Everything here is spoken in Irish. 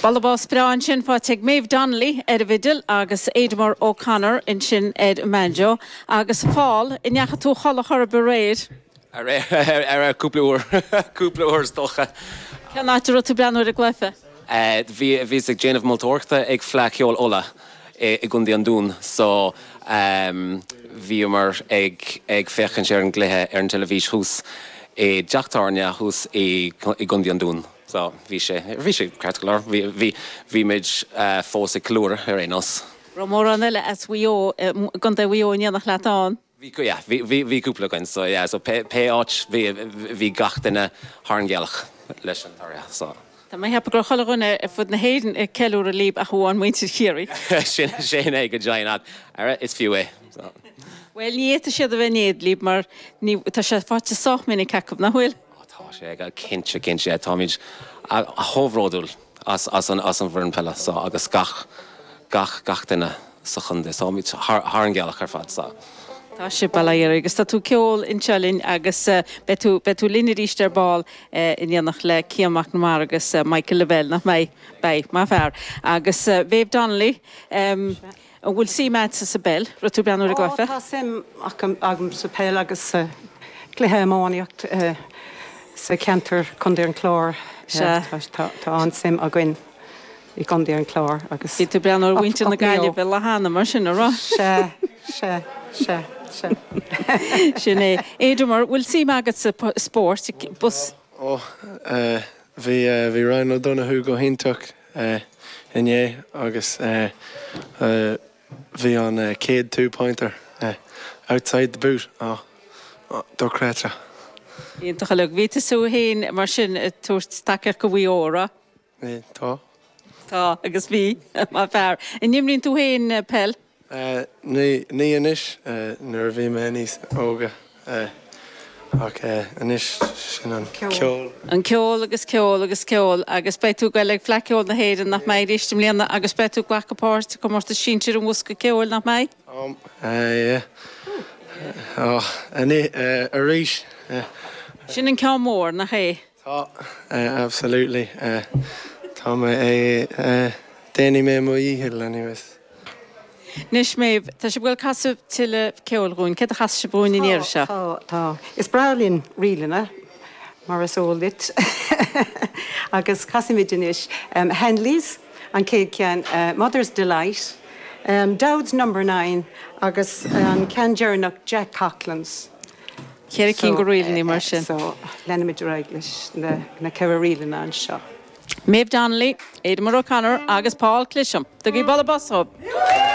Bualadh bos breá ansin faighte ag Maeve Donnelly ar an bhfidil agus Aidemer O'Connor ansin ar an mbanjo. Agus a Phóil, an ndeachaigh tú a chodladh chor ar bith aréir? Aréir, cúpla uair, cúpla uair is dócha. Cén áit a raibh tú ag breathnú ar an gcluiche? Bhí, bhíos ag déanamh moltóireachta ag Fleadh Cheoil Uladh i gContae an Dúin so bhíomar ag ag féachaint ar an gcluiche ar an teilifís thuas i dteach tábhairne thuas i gContae an Dúin. So, bhí sé, bhí sé ceart go leor. Bhí, bhí, bhí muid fós ag ceiliúradh ar aon nós. Raibh mórán eile as Mhaigh Eo, gContae Mhaigh Eo in éineacht leat ann? Bhí, yeah, bhí, bhí, bhí cúpla againn, so yeah, so pé, pé áit, bhí, bhí gach duine thar an ghealach leis an toradh, so. Tá mé ag ceapadh go raibh chuile dhuine ar fud na hÉireann ag ceiliúradh libh ach amháin muintir Chiarraí. Sin, sin é go deimhin, ach, ara, is fiú é, so. Bhuel, ní fhéadfaidh siad a bheith in éad libh mar ní, tá sé faighte sách minic acu, nach bhfuil? Ó tá sé, cinnte, cinnte. Táimid chomh bhródúil as an bhfoireann peile so agus gach, gach, gach duine sa chontae. Táimid thar an ghealach ar fad so. Tá sibh, bail ó Dhia oraibh agus tá tú ag ceol anseo linn agus beidh tú, beidh tú linn arís ar ball in éineacht le Cian McNamara agus Michael Lavelle, nach mbeidh? Beidh, maith fear. Agus Maeve Donnelly, An bhfuil suim agatsa sa bpeil? Raibh tú ag breathnú ar an gcluiche? Ó, tá suim agam sa peil agus sa chluiche iománaíocht sa cheantar Contae an Chláir. Sea. Tá an-suim againn i gContae an Chláir agus. Bhí tú ag breathnú ar mhuintir na Gaillimhe lá cheana mar sin, an raibh? Sea, sea, sea, sea. Sin é. Aidemer, bhfuil suim agat sa spórt? Bus. Ó, bhí, bhí Ryan O'Donoghue go hiontach. inné agus bhí an chéad two pointer outside the boot dochreidte. Iontach uilig. Bhí tusa féin mar sin ag tabhairt tacaíocht do Mhaigh Eo, an raibh? Bhí, tá. Tá, agus bhí, maith fear. An imríonn tú féin peil? Ní, ní anois, nuair a bhí mé níos óga, ach anois sin an ceol. An ceol agus ceol agus ceol agus beidh tú ag goil ag Fleadh Cheoil na hÉireann, nach mbeidh, arís i mbliana agus beidh tú ag glacadh páirt i gcomórtas sinsir an Bhosca Ceoil, nach mbeidh? Tá, yeah. Arís. Sin an ceann mór, nach é? Tá, absolutely. Tá mé, déanfaidh mé mo dhícheall anyways. Anois Maeve, tá sibh ag goil casadh tuilleadh ceoil dhúinn. Céard a chasfaidh sibh dhúinn an iarraidh seo? Tá, tá. Is breá linn ríleanna, mar is eol duit. Agus casfaimid anois Hanley's, an chéad cheann, Mother's Delight, Dowd's Number Nine agus an ceann deireanach Jack Coughlan's. Cheithre cinn de ríleanna mar sin. So, leanfaimid ar aghaidh leis na ceithre ríleanna anseo. Maeve Donnelly, Aidemer O'Connor agus Paul Clisham. Tugaigí bualadh bos dhóibh!